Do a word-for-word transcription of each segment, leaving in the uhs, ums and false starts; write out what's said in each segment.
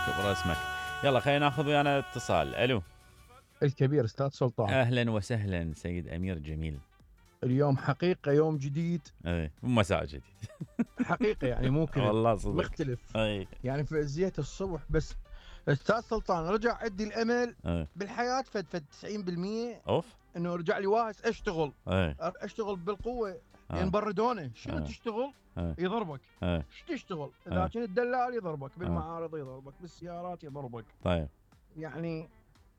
كبر اسمك. يلا خلينا ناخذ ويانا اتصال. الو الكبير استاذ سلطان. اهلا وسهلا سيد امير جميل. اليوم حقيقه يوم جديد. اي مساء جديد. حقيقه يعني مو كذب. والله صدق مختلف. اي يعني فزيت الصبح بس. استاذ سلطان رجع عندي الامل اي بالحياه فد فد تسعين بالمية اوف انه رجع لي واهس اشتغل. اي اشتغل بالقوه. آه. ينبردونه شنو آه. تشتغل؟ آه. يضربك. اي شو تشتغل؟ اذا آه. كنت دلال يضربك، بالمعارض يضربك، بالسيارات يضربك. طيب يعني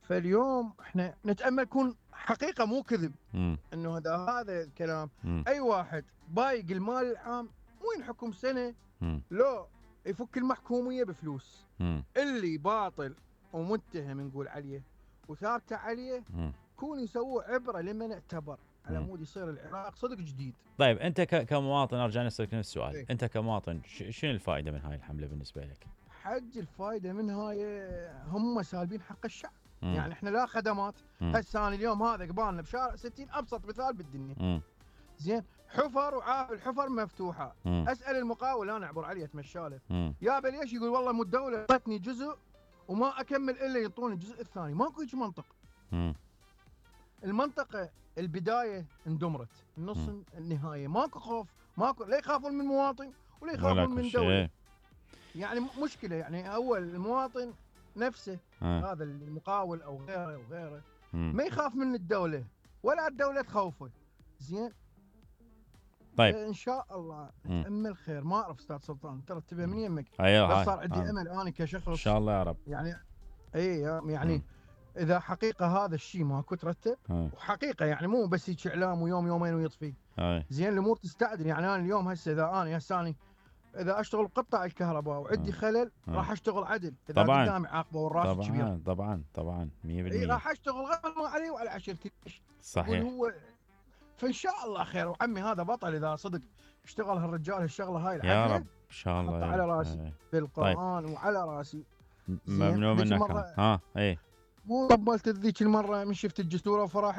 فاليوم احنا نتامل يكون حقيقه مو كذب. امم انه هذا هذا الكلام. امم اي واحد بايق المال العام مو ينحكم سنه، امم لا يفك المحكوميه بفلوس. امم اللي باطل ومتهم نقول عليه وثابته عليه امم كون يسووا عبره لمن اعتبر على مم. مود يصير العراق صدق جديد. طيب انت ك- كمواطن ارجع نسالك نفس السؤال. إيه. انت كمواطن ش- شنو الفائده من هاي الحمله بالنسبه لك؟ حج الفائده من هاي هم سالبين حق الشعب. مم. يعني احنا لا خدمات. مم. هسه انا اليوم هذا قبالنا بشارع ستين ابسط مثال بالدنيا. مم. زين حفر وعاف الحفر مفتوحه. مم. اسال المقاول انا اعبر عليه اتمشاله مم. يا ليش؟ يقول والله مو الدوله اعطتني جزء وما اكمل الا يعطوني الجزء الثاني. ماكو هيك منطق. مم. المنطقه البدايه اندمرت، النص مم. النهايه ماكو خوف، ماكو لا يخافون من مواطن ولا ولا يخافون من كل دوله. شيء. يعني م- مشكله. يعني اول المواطن نفسه آه. هذا المقاول او غيره او غيره مم. ما يخاف من الدوله ولا الدوله تخوفه. زين طيب ان شاء الله مم. نتامل خير. ما اعرف استاذ سلطان ترى تبي من يمك. هيا بس هاي صار عندي آه. امل انا كشخص ان شاء الله يا رب. يعني. اي يعني مم. اذا حقيقه هذا الشيء ماكو ترتب آه. وحقيقه يعني مو بس هيك اعلام ويوم يومين ويطفي. هاي زين الامور تستعدل. يعني انا اليوم هسه اذا انا هسه أنا اذا اشتغل بقطاع الكهرباء وعندي آه. خلل آه. راح اشتغل عدل. اذا طبعاً. قدامي عاقبه والراتب كبير طبعا طبعا طبعا مية اي بالمية راح اشتغل غير ما علي وعلى عشيرتي. يقول صحيح. هو فان شاء الله خير. وعمي هذا بطل اذا صدق اشتغل هالرجال هالشغله هاي يا العدله. رب ان شاء الله. احطه على راسي هاي. بالقران وعلى راسي. م- زين. ممنون ذيك منك. المرة- ها اي مو قبلت ذيك المره من شفت الجسوره وفرح